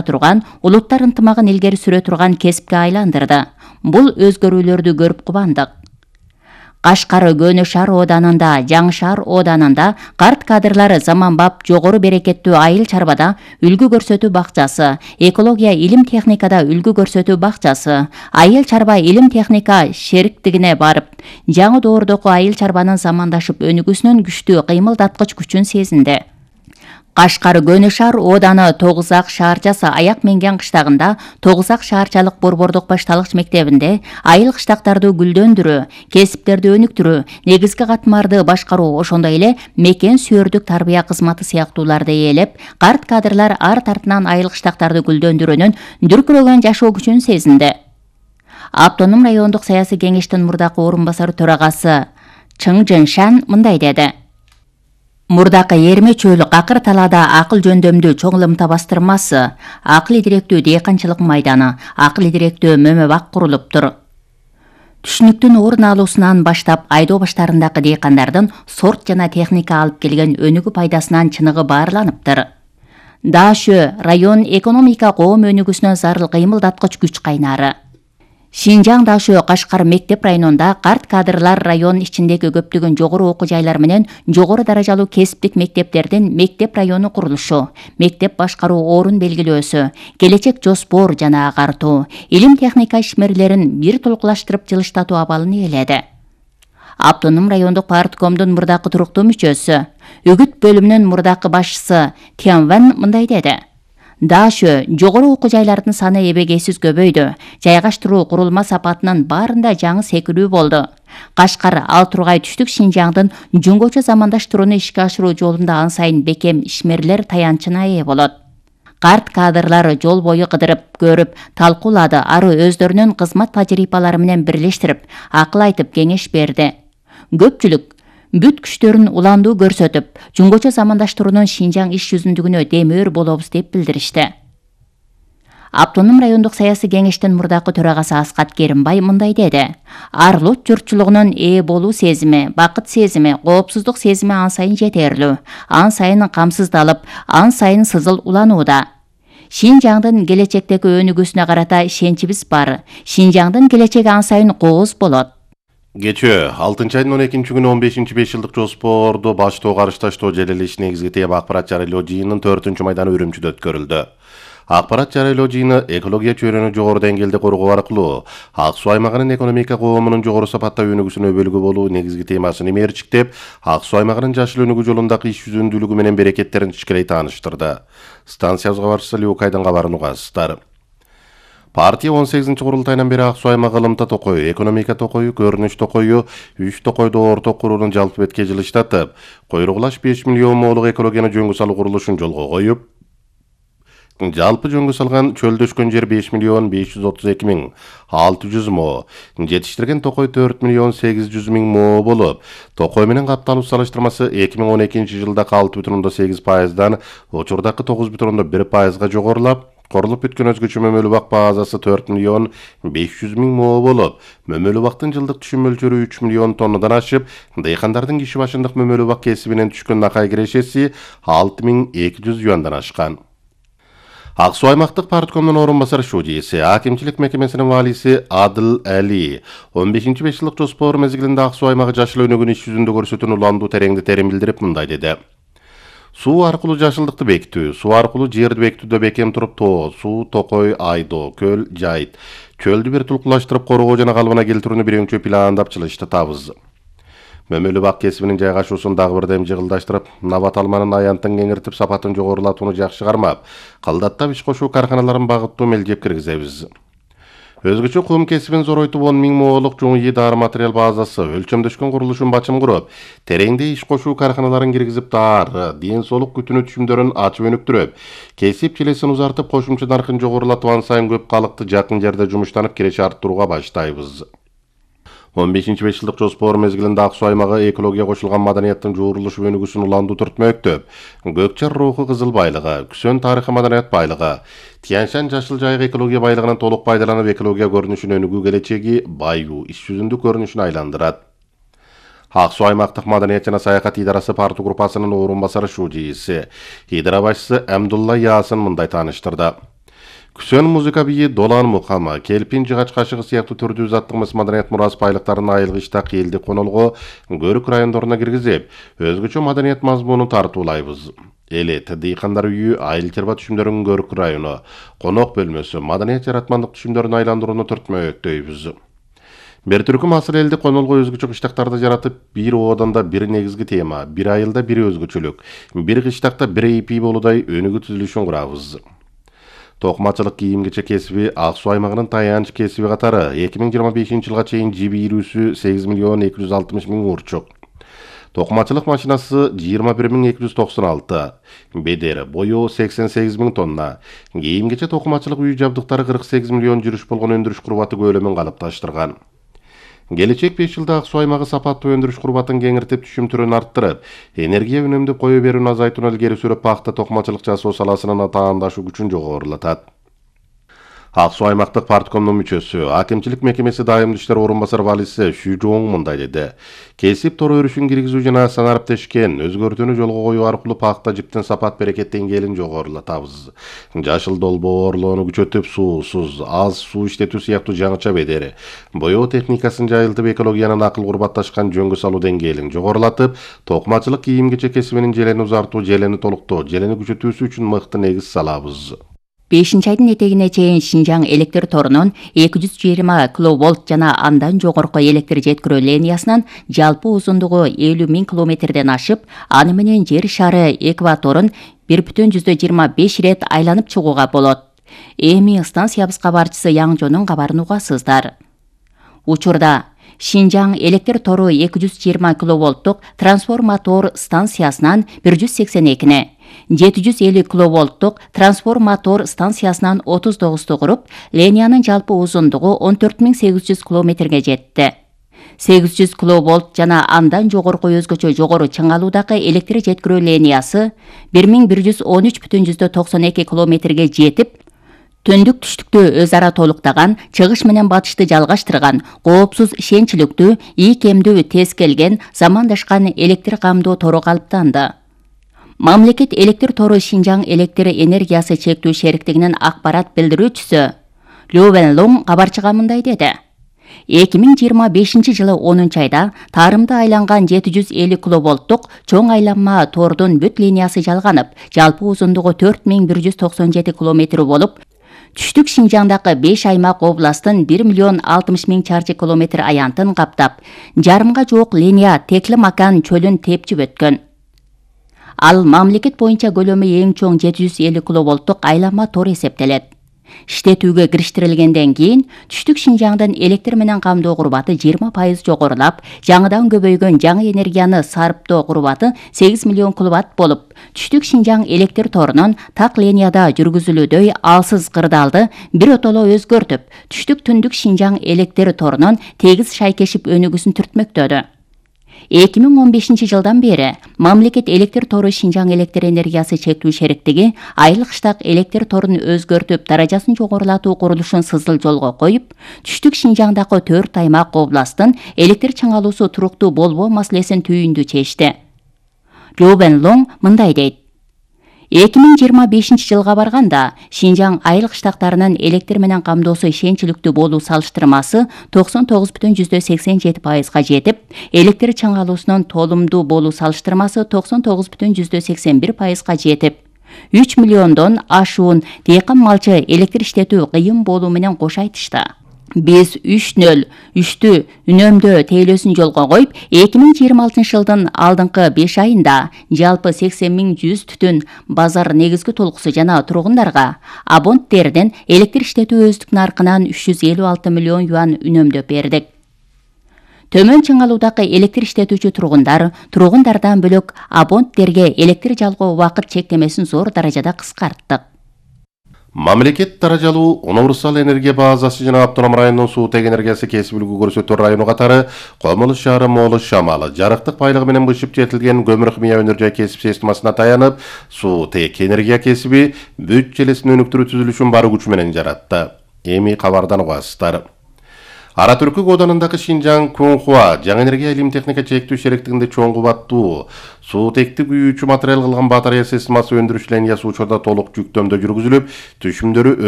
турган улуттар ынтымагын илгери сүрө турган кесипке айландырды. Бул өзгөрүүлөрдү көрүп кубандык. Кашкар Көнө шаар ооданында, Жаңы шаар ооданында карт кадрлары заманбап жогору берекеттүү айыл чарбада үлгү көрсөтүү бакчасы, экология илим техникада үлгү көрсөтүү бакчасы, айыл чарба илим техника шериктигине барып, жаңы доордогу айыл чарбанын замандашып өнүгүүсүнүн күчтүү кыймылдаткыч күчүн сезинди. Кашкар Көнө шаар ооданы Тогуз Ак шаарчасы аяк менген кыштагында Тогуз Ак шаарчалык борбордук башталгыч мектебинде айыл кыштактарды гүлдөндүрүү, кесиптерди өнүктүрүү, негизги катмарды башкаруу, ошондой эле мекен сүйөрдүк тарбия кызматы сыяктууларды ээлеп, карт кадрлар арт артынан айыл кыштактарды гүлдөндүрүүнүн дүркүрөгөн жашоо күчүн сезинди. Автоном райондук саясий кеңештин мурдакы орун басары төрагасы Чың Жыншан мындай деди. Мурдакы Эрме чөлү Акыр талаада акыл жөндөмдүү чоң ылымта бастырмасы, акыл идиректүү дыйканчылык майданы, акыл идиректүү мөмө-бак курулуптур. Түшүнүктүн орун алуусунан баштап айдоо баштарындагы дыйкандардын сорт жана техника алып келген өнүгүү пайдасынан чыныгы баарланыптыр. Даашө район экономика коом өнүгүүсүнө зарыл кыймылдаткыч күч кайнары. Шинжаң Даашө Кашкар мектеп районунда карт кадрлар район ичиндеги көптөгөн жогору окуу жайлар менен жогору даражалуу кесиптик мектептердин мектеп району курулушу, мектеп башкаруу орун белгилөөсү, келечек жоспор жана агартуу, илим техника ишмерлерин бир толкулаштырып жылыштатуу абалын ээледи. Автоном райондук парткомдун мурдакы туруктуу мүчөсү, үгүт бөлүмүнүн мурдакы башчысы Тянван мындай деди. Даашө жогору окуу жайлардын саны эбегейсиз көбөйдү. Жайгаштыруу курулма сапатынын баарында жаңы секирүү болду. Кашкар ал тургай түштүк Шинжаңдын жөнгөчө замандаштырууну ишке ашыруу жолунда ан сайын бекем ишмерлер таянчына ээ болот. Карт кадрлары жол бою кыдырып, көрүп, талкуулады, ары өздөрүнүн кызмат тажрыйбалары менен бирлештирип, акыл айтып, кеңеш берди. Көпчүлүк бүт күчтөрүн уландуу көрсөтүп, жөнгөчө замандаштыруунун Шинжаң иш жүзүндүгүнө демөөр болобуз деп билдиришти. Автоном райондук саясий кеңештин мурдакы төрагасы Аскат Керимбай мындай деди. Арлут журтчулугунун ээ болуу сезими, бакыт сезими, коопсуздук сезими ан сайын жетерлүү, ан сайын камсыздалып, ан сайын сызыл уланууда. Шинжаңдын келечектеги өнүгүүсүнө карата ишеничибиз бар. Шинжаңдын келечеги ан сайын кооз болот. Кечээ 6-айдын 12-күнү 15-5 жылдык жоспорду баштоо карышташтоо желелеш негизги тема акпарат жарыялоо жыйынынын 4-майданы Үрүмчүдө өткөрүлдү. Акпарат жарыялоо жыйыны экология чөйрөнү жогору деңгээлде коргоо аркылуу Ак Суу аймагынын экономика коомунун жогору сапатта өнүгүүсүнө өбөлгө болуу негизги темасын имээрчиктеп, Ак Суу аймагынын жашыл өнүгүү жолундагы иш жүзүндүүлүгү менен берекеттерин тишкелей тааныштырды. Станциябыз кабарчысы Люкайдын кабарын угасыздар. Партия 18-курултайынан бери Ак Суу аймагы ылымта токою, экономика токою, көрүнүш токою, 3 токойду орток куруунун жалпы бетке жылыштатып, койругулаш 5 миллион моолук экологияны жөнгө салуу курулушун жолго коюп, жалпы жөнгө салган чөлдөшкөн жер 5 миллион 532 миң 600 мо, жетиштирген токой 4 миллион 800 миң мо болуп, токой менен капталуу салыштырмасы 2012 жылда 6,8%дан учурдакы 9,1%га жогорулап, корулуп бүткөн өзгөчө мөмөлүү бак базасы 4 миллион 500 миң мо болуп, мөмөлүү бактын жылдык түшүм мөлчөрү 3 миллион тоннадан ашып, дыйкандардын киши башындык мөмөлүү бак кесибинен түшкөн акай кирешеси 6200 юандан ашкан. Ак Суу аймактык парткомдун орун басары шудийси, акимчилик мекемесинин валиси Адыл Али 15-5 жылдык жоспор мезгилинде Ак Суу аймагы жашыл өнүгүүнү иш жүзүндө көрсөтүүнү уландуу тереңди терим билдирип мындай деди. Суу аркылуу жашылдыкты бекитүү, суу аркылуу жерди бекитүүдө бекем туруп тоо, суу, токой, айдоо, көл, жайыт, чөлдү бир тулкулаштырып коргоо жана калыбына келтирүүнү биринчи пландап чылыштатабыз. Мөмөлүү бак кесибинин жайгашуусун дагы бирдем жыгылдаштырып, набат алманын аянтын кеңиртип, сапатын жогорулатууну жакшы кармап, кылдаттап иш кошуу карканаларын багыттуу мелдеп киргизебиз. Өзгөчө кум кесибин зоройтуп 10 миң моолук жуңуй дары материал базасы, өлчөмдөшкөн курулушун бачым куруп, тереңде иш кошуу карканаларын киргизип дары, ден соолук күтүнүү түшүмдөрүн ачып өнүктүрүп, кесип челесин узартып, кошумча наркын жогорулатып, ан сайын көп калыкты жакын жерде жумуштанып киреше арттырууга баштайбыз. 15-5 жылдык жоспор мезгилинде Ак Суу аймагы экология кошулган маданияттын жуурулушу өнүгүүсүн уландуу түртмөктөп, Көкчар руху кызыл байлыгы, Күсөн тарыхый маданият байлыгы, Тянь-Шань жашыл жайык экология байлыгынан толук пайдаланып, экология көрүнүшүн өнүгүү келечеги баюу, иш жүзүндүү көрүнүшүн айландырат. Ак Суу аймактык маданият жана саякат идарасы парту группасынын орун басары шудийси, идара башчысы Амдулла Ясын мындай тааныштырды. Күсөн музыка бийи, долан мукама, келпин жыгач кашыгы сыяктуу түрдүү заттык мыс маданият мурас байлыктарын айылгы иштак элди конолго, Көрүк райондоруна киргизип, өзгөчө маданият мазмунун тартуулайбыз. Элет, дыйкандар үйү, айыл чарба түшүмдөрүнүн Көрүк району, конок бөлмөсү, маданият жаратмандык түшүмдөрүн айландырууну түртмөктөйбүз. Бир түркүм асыл элди конолго өзгөчө кыштактарды жаратып, бир ооданда бир негизги тема, бир айылда бир өзгөчөлүк, бир кыштакта бир эпи болудай өнүгүү түзүлүшүн курабыз. Токмачылык кийим-кечек кесиби Ак Суу аймагынын таянч кесиби катары 2025-жылга чейин жибирүүсү 8.260.000 урчук. Токмачылык машинасы 21.296, бедер бою 88.000 тонна. Кийим-кечек токмачылык үй жабдыктары 48 миллион жүрүш болгон өндүрүш курбаты көлөмүн калыпташтырган. Келечек 5 жылда Ак Суу аймагы сапаттуу өндүрүш курбатын кеңиртип, түшүм түрүн арттырып, энергия үнөмдөп кое берүүнү азайтууну илгери сүрүп, пахта токмачылык жасоо саласынын таандашуу күчүн жогорулатат. Ак Суу аймактык парткомдун мүчөсү, акимчилик мекемеси дайымдуу иштер орун басары балиси Шүжоң мындай деди. Кесип тор өрүшүн киргизүү жана санариптешкен өзгөртүүнү жолго коюу аркылуу пахта жиптин сапат берекет деңгээлин жогорулатабыз. Жашыл долбоорлоону күчөтүп, суусуз, аз суу иштетүү сыяктуу жаңыча бедери, боёо техникасын жайылтып, экологиянын акыл курбатташкан жөнгө салуу деңгээлин жогорулатып, токмачылык кийим-кечек кесибинин желени узартуу, желени толуктоо, желени күчөтүүсү үчүн мыкты негиз салабыз. 5-айдын этегине чейин Шинжаң электр торунун 220 киловольт жана андан жогорку электр жеткирүү линиясынын жалпы узундугу 50.000 километрден ашып, аны менен жер шары экваторун 1,25 ирет айланып чыгууга болот. Эми станциябыз кабарчысы Яңжонун кабарын угасыздар. Учурда Шинжаң электр тору 220 киловольттук трансформатор станциясынан 182-не, 750 киловольттук трансформатор станциясынан 39-ту куруп, линиянын жалпы узундугу 14.800 километрге жетти. 800 киловольт жана андан жогорку өзгөчө жогору чыңалуудагы электр жеткирүү линиясы 1113,92 километрге жетип, түндүк түштүктү өз ара толуктаган, чыгыш менен батышты жалгаштырган, коопсуз ишенчиликтүү, ийкемдүү, тез келген, замандашкан электр камдоо тору калыптанды. Мамлекет электр тору Шинжаң электр энергиясы чектүү шериктигинин акпарат билдирүүчүсү Лю Венлоң кабарчыга мындай деди. 2025 жылы 10-айда тарымды айланган 750 киловольттук чоң айланма тордун бүт линиясы жалганып, жалпы узундугу 4197 километр болуп, түштүк Шинжаңдагы 5 аймак областтын 1,60 чарчы километр аянтын каптап, жарымга жуук линия Теклимакан чөлүн тепчип өткөн. Ал мамлекет боюнча көлөмү эң чоң 750 киловольттук айланма тор эсептелет. Иштетүүгө кириштирилгенден кийин түштүк Шинжаңдын электр менен камдоо курбаты 20% жогорулап, жаңыдан көбөйгөн жаңы энергияны сарптоо курбаты 8 миллион киловатт болуп, түштүк Шинжаң электр торунун так линияда жүргүзүлүүдөй алсыз кырдаалды бир отоло өзгөртүп, түштүк түндүк Шинжаң электр торунун тегиз шайкешип өнүгүүсүн түртмөктөдү. 2015 жылдан бери мамлекет электр тору Шинжаң электр энергиясы чектүү шериктиги айылык штак электр торун өзгөртүп, даражасын жогорулатуу курулушун сызыл жолго коюп, түштүк Шинжаңдагы 4 аймак областтын электр чыңалуусу туруктуу болбоо маселесин түйүндү чечти. Лю Венлоң мындай дейт. 2025 жылга барганда Шинжаң айылык штактарынын электр менен камдоосу ишенчиликтүү болуу салыштырмасы 99,87%га жетип, электр чыңалуусунун толумдуу болуу салыштырмасы 99,81%га жетип, 3 миллиондон ашуун дыйкан малчы электр иштетүү кыйын болуу менен кошо айтышты. Биз 3.03-тү үнөмдөө тейлөөсүн жолго коюп, 2026 жылдын алдыңкы 5 айында жалпы 80.100 түтүн базар негизги толкусу жана тургундарга абоненттерден электр иштетүү өздүк наркынан 356 миллион юан үнөмдөп бердик. Төмөн чыңалуудагы электр иштетүүчү тургундардан бөлөк абоненттерге электр жалгоо убакыт чектемесин зор даражада кыскарттык. Мамлекет даражалуу универсал энергия базасы жана автоном районунун суутек энергиясы кесиптүүлүгү көрсөтүү району катары Комулуш шаары Молуш Шамалы жарыктык байлыгы менен бышып жетилген көмүр химия өнөр жай кесип системасына таянып, суутек энергия кесиби бүт желесин өнүктүрүү түзүлүшүн бар күчү менен жаратты. Эми кабардан угасыздар. Ара Түркү кооданындагы Шинжаң Кунхуа жаңы энергия илим техника чектүү шериктигинде чоң кубаттуу суутекти күйүүчү материал кылган батарея системасы өндүрүш линиясы учурда толук жүктөмдө жүргүзүлүп, түшүмдөрү